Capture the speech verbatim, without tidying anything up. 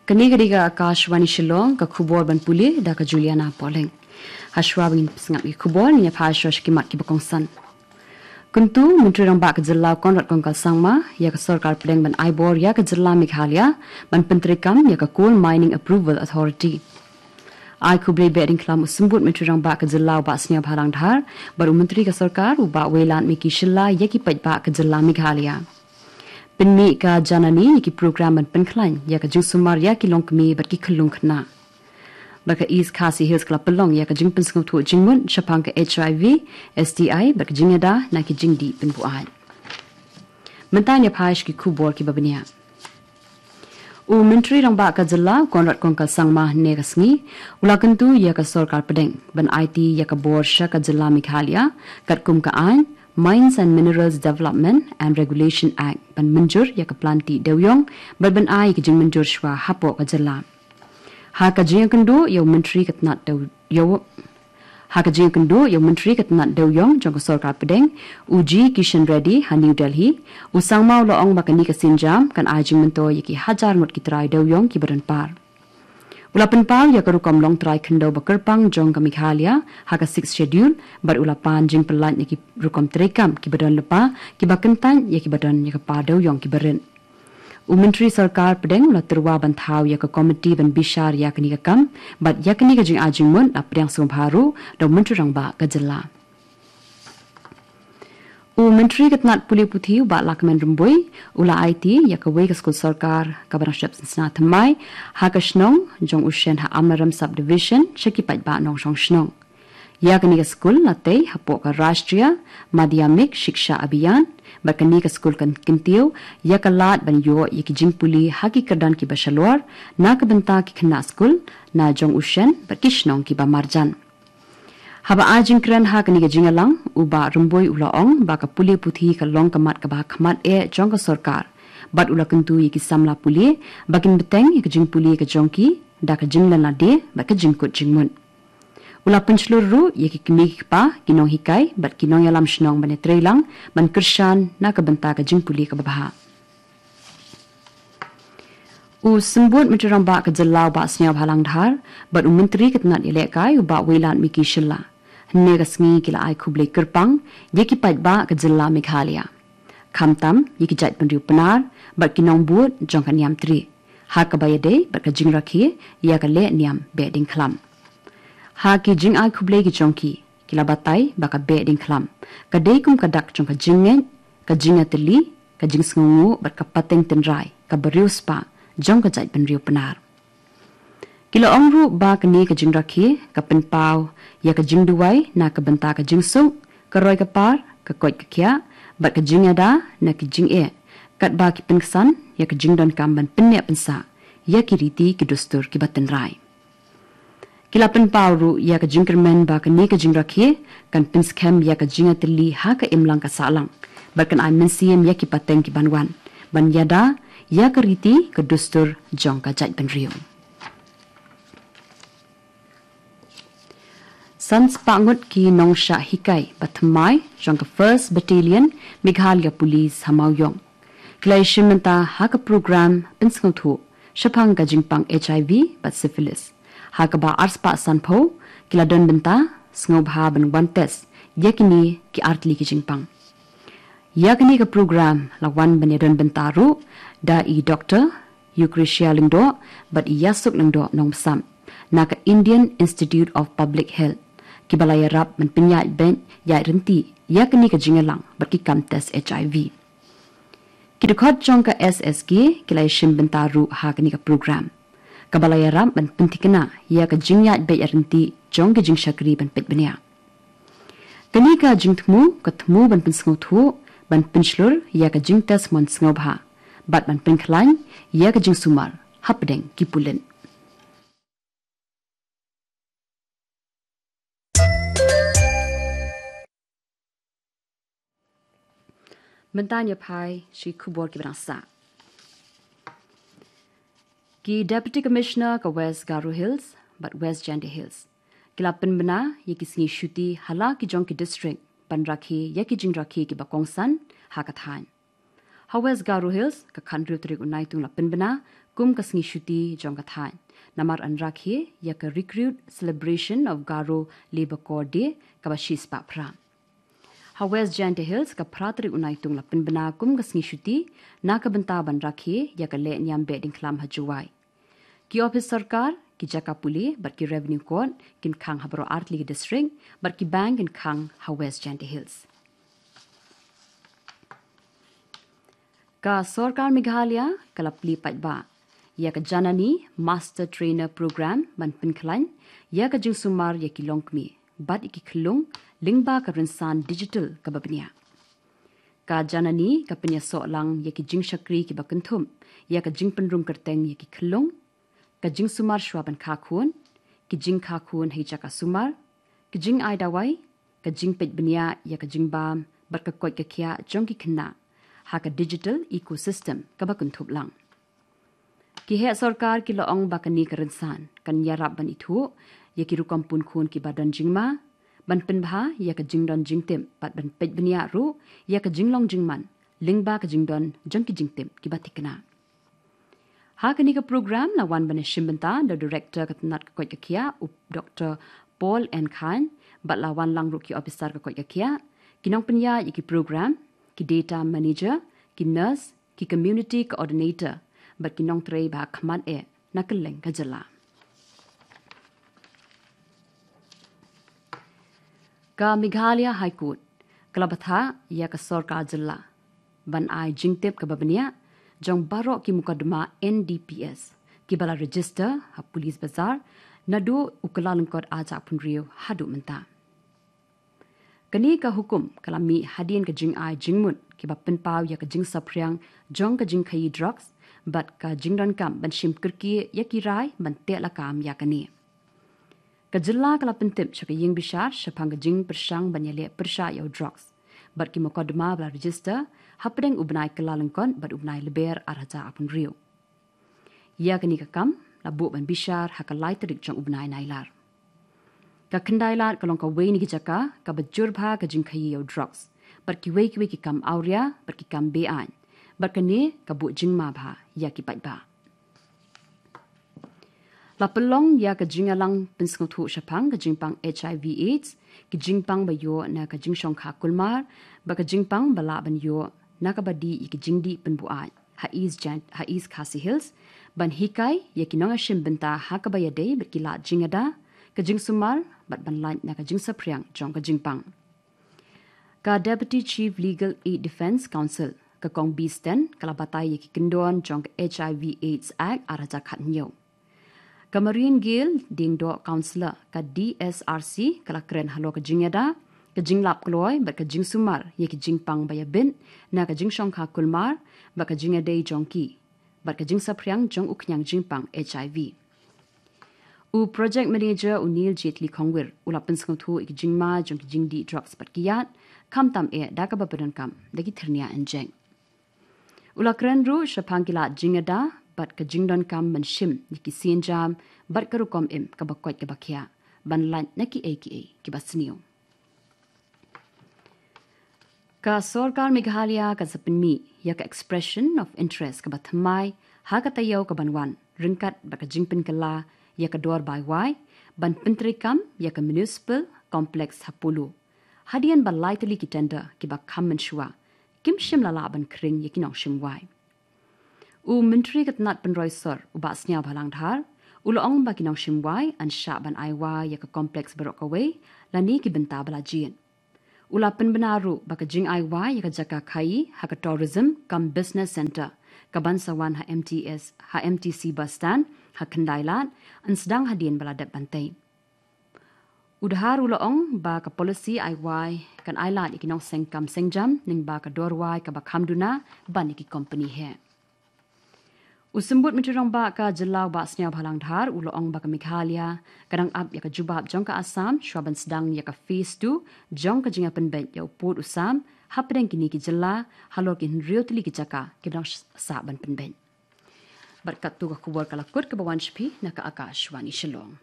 Kane ka dei ka Akashvani Shillong, ka khubor ban pule da ka Juliana Poleng. Hashwa ban ngin pynsngap ïa ki khubor, ngin ïa phai shuwa sha ki mat kiba kongsan. Kyntu, Myntri Rangbah ka Jylla u Conrad Kongkal Sangma ïa ka Sorkar Pdeng ban ai bor ïa ka Jylla Meghalaya ban pyntreikam ïa ka Coal Mining Approval Authority. Ai khublei beh diengkhlam u Symbud Myntri Rangbah ka Jylla u Bah Sniawbhalang Dhar bad u Myntri ka Sorkar u Bah Wailadmiki Shylla ïa ki paidbah ka Jylla Meghalaya. Pynmih ka Janani ïa ki program ban pynkhlaiñ ïa ka jingsumar ïa ki longkmie bad ki khyllung khynnah. Bad ka East Khasi Hills ka la pynlong ïa ka jingpynsngewthuh jingmut shaphang ka HIV, STI bad ka jingïada na ki jingdih pynbuaid. Mynta ngin ïa phai sha ki khubor kiba bniah. U Myntri Rangbah ka Jylla u Conrad Kongkal Sangma hynne ka sngi u la kyntu ïa ka Sorkar Pdeng ban aiti ïa ka bor sha ka Jylla Meghalaya katkum ka aiñ Mines and Minerals Development and Regulation Act ban mynjur ïa ka plan tih dewiong bad ban ai ïa ka jingmynjur shuwa hapoh ka Jylla. Ha ka jingïakynduh ïa u Myntri ka tnat dew ïa u Ha ka jingïakynduh ïa u Myntri ka tnat dewiong jong ka Sorkar Pdeng, u G Kishan Reddy ha New Delhi, u Sangma u la ong ba kane ka sienjam kan ai jingmyntoi ïa ki hajar ngut ki trai dewiong kiba don par. U la pynpaw ïa ka rukom longtrai khyndew ba kyrpang jong ka Meghalaya ha ka Sixth Schedule bad u la pan jingpyllait na ki rukom treikam kiba don lypa kiba kyntait ïa kiba don ïa ka par dewiong kiba rit. U Myntri Sorkar Pdeng u la tyrwa ban thaw ïa ka komiti ban bishar ïa kane ka kam bad ïa kane ka jingai jingmut la pdiang sngewbha ruh da u Myntri Rangbah ka Jylla. U Myntri ka tnat pule puthi u Bah Lahkmen Rymbui u la aiti ïa kawei ka skul sorkar kaba dang shep sngewsih thymmai ha ka shnong Jong u Shen ha Amlarem Subdivision sha ki paidbah nongshong shnong. Ïa kane ka skul la tei hapoh ka Rashtriya Madhyamik Shiksha Abhiyan bad kane ka skul kan kyntiew ïa ka lad ban ïoh ïa ki jingpule ha ki kyrdan kiba shalor na ka bynta ki khynnah skul na Jong u Shen bad ki shnong kiba marjan. Haba ai jingkren ha kane ka jingïalang, u Bah Rymbui u la ong ba ka pule puthi ka long ka mat kaba ha khmat eh jong ka sorkar bad u la kyntu ïa ki samla pule ba kin bteng ïa ka jingpule ka jong ki da ka jinglen lade bad ka jingkut jingmut. U la pynshlur ruh ïa ki kmie ki kpa, ki nonghikai bad ki nongïalam shnong ban ïatreilang ban kyrshan na ka bynta ka jingpule kaba bha. U Symbud Myntri Rangbah ka Jylla u Bah Sniawbhalang Dhar bad u Myntri ka tnat ïalehkai u Bah Wailadmiki Shylla hynne ka sngi ki la ai khublei kyrpang ïa ki paidbah ka Jylla Meghalaya, khamtam ïa ki jaitbynriew Pnar bad ki nongbud jong ka Niamtre ha kaba ïadei bad ka jingrakhe ïa ka lehniam beh diengkhlam. Ha ki jingai khublei ki jong ki, ki la batai ba ka beh diengkhlam ka dei kum ka dak jong ka jingngeit, ka jingïatylli, ka jingsngewnguh bad ka pateng tynrai kaba riewspah jong ka jaitbynriew Pnar. Ki la ong ruh ba kane ka jingrakhe ka pynpaw ïa ka jingduwai na ka bynta ka jingsuk, ka roi ka par, ka koit ka khiah bad ka jingïada na ki jingeh, katba ki pynksan ïa ka jingdonkam ban pynneh pynsah ïa ki riti ki dustur kiba tynrai. Ki la pynpaw ruh ïa ka jingkyrmen ba kane ka jingrakhe kan pynskhem ïa ka jingïatylli ha ka imlang ka sahlang bad kan ai mynsiem ïa ki pateng ki ban wan ban ïada ïa ka riti ka dustur jong ka jaitbynriew. San spah ngut ki nongshah hikai ba thymmai jong ka First Battalion Meghalaya Police ha Mawïong ki la ïashim bynta ha ka program pynsngewthuh shaphang ka jingpang HIV bad syphilis, ha kaba arspah sanphew ki la don bynta sngewbha ban wan test ïa kine ki artylli ki jingpang. Ïa kane ka program la wan ban ïadon bynta ruh da i Doktor Eucrasia Lyngdoh bad i Ïasuk Lyngdoh Nongmsap na ka Indian Institute of Public Health, kiba la ïarap ban pynïaid beit ïaid ryntih ïa kane ka jingïalang bad ki kam test HIV. Ki dkhot jong ka SSG ki la ïashim bynta ruh ha kane ka program, kaba la ïarap ban pynthikna ïa ka jingïaid beit ïaid ryntih jong ki jingshakri ban peit bniah. Kane ka jingthmu ka thmu ban pynsngewthuh, ban pynshlur ïa ka jingtest mon sngewbha bad ban pynkhlaiñ ïa ka jingsumar hapdeng ki pulit. Mynta ngin ïa phai sha ki khubor kiba dang sah. Ki Deputy Commissioner ka West Garo Hills bad West Jaintia Hills ki la pynbna ïa ki sngi shuti ha la ki jong ki district ban rakhe ïa ki jingrakhe kiba kongsan ha ka thaiñ. Ha West Garo Hills, ka khathynriew tarik u Naitung la pynbna kum ka sngi shuti jong ka thaiñ, namar yn rakhe ïa ka Recruit Celebration of Garo Labour Corps Day kaba shispah phra. Ha West Jaintia Hills, ka phra tarik u Naitung la pynbna kum ka sngi shuti na ka bynta ban rakhe ïa ka lehniam beh diengkhlam ha Jowai. Ki ophis sorkar, ki jaka pule bad ki Revenue Court kin khang ha baroh artylli ki district, bad ki bank kin khang ha West Jaintia Hills. Ka sorkar Meghalaya ka la plie paidbah ïa ka Janani Master Trainer Program ban pynkhlaiñ ïa ka jingsumar ïa ki longkmie bad ïa ki khyllung lyngba ka rynsan digital kaba bniah. Ka Janani ka pynïasoh lang ïa ki jingshakri kiba kynthup ïa ka jingpynrung kyrteng ïa ki khyllung, ka jingsumar shuwa ban kha khun, ki jingkha khun ha ki jaka sumar, ki jingai dawai, ka jingpeit bniah ïa ka jingbam bad ka koit ka khiah jong ki khynnah ha ka digital ecosystem kaba kynthup lang. Ki heh sorkar ki la ong ba kane ka rynsan kan ïarap ban ithuh ïa ki rukom pun khun kiba don jingma, ban pynbha ïa ka jingdon jingtip bad ban peit bniah ruh ïa ka jinglong jingman lyngba ka jingdon jong ki jingtip kiba thikna. Ha kane ka program la wan ban ïashim bynta da u Director ka tnat ka koit ka khiah, u Doctor Paul N Khan, bad la wan lang ruh ki ophisar ka koit ka khiah, ki nongpynïaid ïa ki program, ki data manager, ki nurse, ki community coordinator bad ki nongtrei ba ha khmat eh na kylleng ka jylla. Ka Meghalaya High Court ka la bthah ïa ka sorkar jylla ban ai jingtip kaba bniah jong baroh ki mukotduma N D P S kiba la register ha Police Bazar naduh u Kyllalyngkot arhajar arphew hynriew haduh mynta. Kane ka hukum ka la mih hadien ka jingai jingmut kiba pynpaw ïa ka jingsaphriang jong ka jingkhaïi drugs bad ka jingdonkam ban shim kyrkieh ïa ki rai ban teh lakam ïa kane. Ka jylla ka la pyntip sha ka ïing bishar shaphang ka jingpyrshang ban ïaleh pyrshah ïa u drugs bad ki mukotduma ba la register hapdeng u bnai Kyllalyngkot bad u bnai Lber arhajar arphew hynriew. Ïa kane ka kam la buh ban bishar ha ka lai tarik jong u bnai Nailar. Ka Khyndailad ka long kawei na ki jaka kaba jur bha ka jingkhaïi ïa u drugs bad kiwei kiwei ki kam awria bad ki kam beaiñ, bad kane ka buh jingma bha ïa ki paidbah. La pynlong ïa ka jingïalang pynsngewthuh shaphang ka jingpang H I V AIDS, ki jingpang ba ïoh na ka jingshongkha kulmar bad ka jingpang ba lah ban ïoh na kaba dih ïa ki jingdih pynbuaid ha East Jan-, ha East Khasi Hills, ban hikai ïa ki nongïashim bynta ha kaba ïadei bad ki lad jingïada, ka jingsumar bad ban lait na ka jingsaphriang jong ka jingpang. Ka Deputy Chief Legal Aid Defence Counsel, ka Kong B Sten, ka la batai ïa ki kyndon jong ka H I V AIDS Act arhajar khathynñiew. Ka Marine Gail Diengdoh, Counsellor ka D S R C, ka la kren halor ka jingïada, ka jinglap kloi bad ka jingsumar ïa ki jingpang ba ïabit na ka jingshongkha kulmar bad ka jingïadei jong ki bad ka jingsaphriang jong u khñiang jingpang H I V. U Project Manager u Neil Jetli Khongwir u la pynsngewthuh ïa ki jingma jong ki jingdih drugs bad ki ïad, khamtam eh da kaba pyndonkam da ki thyrnia injek. U la kren ruh shaphang ki lad jingïada bad ka jingdonkam ban shim ïa ki sienjam bad ka rukom im kaba koit kaba khiah ban lait na kiei kiei kiba sniew. Ka sorkar Meghalaya ka sa pynmih ïa ka expression of interest kaba thymmai ha ka taïew kaban wan, ryngkat bad ka jingpynkylla ïa ka dor bai wai ban pyntreikam ïa ka municipal complex ha Polo, hadien ba lai tylli ki tender kiba kham mynshuwa kim shym la lah ban khring ïa ki nongshim wai. U Myntri ka tnat pynroi sor, u Bah Sniawbhalang Dhar, u la ong ba ki nongshim wai yn shah ban ai wai ïa ka complex baroh kawei lane ki bynta ba la jied. U la pynbna ruh ba ka jingai wai ïa ka jaka khaïi ha ka tourism cum business centre kaban sa wan ha M T S, ha M T C bus stand ha Khyndailad yn sdang hadien ba la dep ban tei. U Dhar u la ong ba ka policy ai wai kan ailad ïa ki nongseng kam seng jam, lyngba ka dor wai kaba kham duna ban ïa ki company heh. U Symbud Myntri Rangbah ka jylla u Bah Sniawbhalang Dhar u la ong ba ka Meghalaya ka dang ap ïa ka jubab jong ka Assam shuwa ban sdang ïa ka phase two jong ka jingïapynbeit ïa u pud u sam hapdeng kine ki jylla halor ki hynriew tylli ki jaka kiba dang sah ban pynbeit. Bad katto ka khubor ka la kut kaba wan sha phi na ka Akashvani Shillong.